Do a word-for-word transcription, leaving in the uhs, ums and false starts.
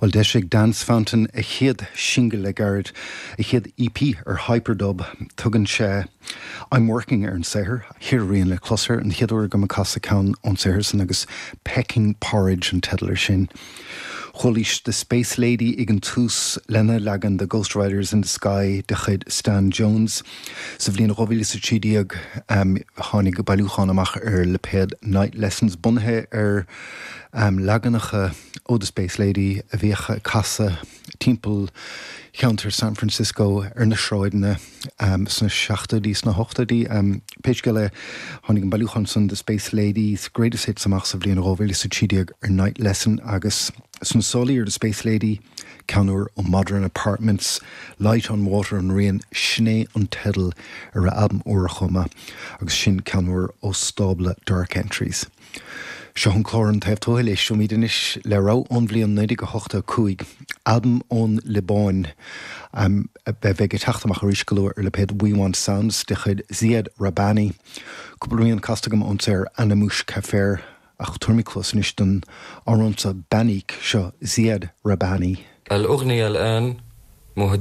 Well d'eisigh Dance Fountain a chéad singil le gairid a chéad EP ar Hyperdub tugann sé I'm working ar an saothar, ceithre rian le clos air an chéad uair agam ag casadh ceann ón saothar san agus Pecking Porridge an teideal air sin. Chualaís The Space Lady ag an tús lena leagan de Ghost Riders in the Sky de chuid Stan Jones. Sa bhliain dhá mhíle is a trí déag um, tháinig bailiúchán amach ar lipéad Night Lessons bunaithe ar um, leaganacha ó The Space Lady a bhíodh ag casadh timpeall cheantar San Francisco ar na sráideanna um, sna seachtóidí sna hochtóidí. Um, Pé scéal é tháinig an bailiúchán san The Space Ladies Greatest Hits amach sa bhliain dhá mhíle is a trí déag ar Night Lesson agus sna sála ar The Space Lady ceann úr ó Modern Apartments, Light on Water an rian sin é an teideal ar a albam úr chomh maith agus sin ceann úr ó stábla Dark Entries. Seo an clár an taobh tuathail éistfimid anois le rogha ón bhliain naoi déag ochtó cúig, albam ón Liobáin um, a bheidh ag teacht amach arís go luath ar lipéad We Want Sounds de chuid Ziad Rahbani. Cúpla rian casta agam ón saothar Ana Mouch Kafer ach tabharfaimid cluas anois don amhrán seo Banik seo Ziad Rahbani. الأغنية الآن مهداة